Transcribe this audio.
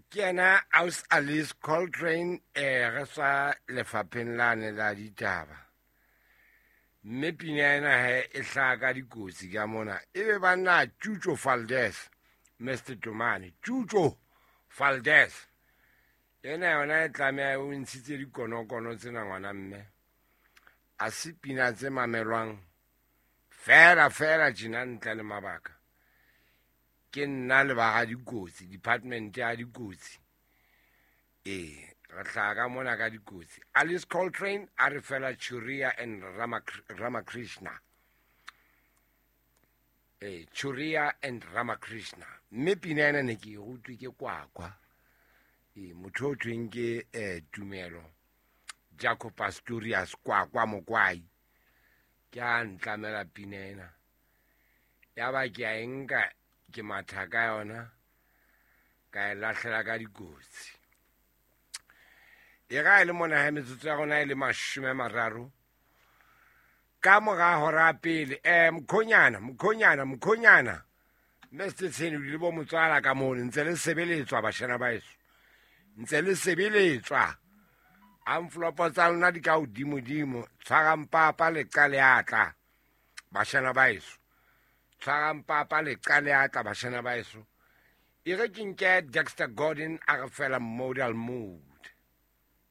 Ke yena Aus Alice Coltrane, re tswa lefapheng lane la ditaba. Mme pina ena he e hlaha ka dikotsi ka mona. Ebe banna Chucho Valdez, Mr. Tomane, Chucho Valdez. Ena yona e tlameha o ntshitse dikonokono tsena ngwana mme. A se pina tse mamelwang fela fela tjena ntle le mabaka. Ke nna le ba ga dikotsi, department ya dikotsi. Ee, re hlaha ka mona ka dikotsi. Alice Coltrane a re fela Churia and Ramakrishna. Ee, Churia and Ramakrishna. Mme pina ena ne ke e rutwe ke Kwakwa. Ee, motho o thweng ke Tumelo Jaco Pastorius Kwakwa Mokwai. Ke a ntlamela pina ena. Ya ba ke a e nka ke matha ka yona ka e lahlela ka dikotsi. E ga e le mona ha metsotso ya rona e le 30 ka mora hora pele. Mkhonyana, mkhonyana, mkhonyana. Mr. Tsheni le bo motswala ka mono ntse le sebeletswa bashana ba heso. Ntse le sebeletswa. Envelope tsa lona di ka hodimodimo. Tshwarang papa le qale atla. Bashana ba heso. Tshwarang papa le qale atla bashana ba heso. E re ke nke Dexter Gordon a re fela Modal Moves.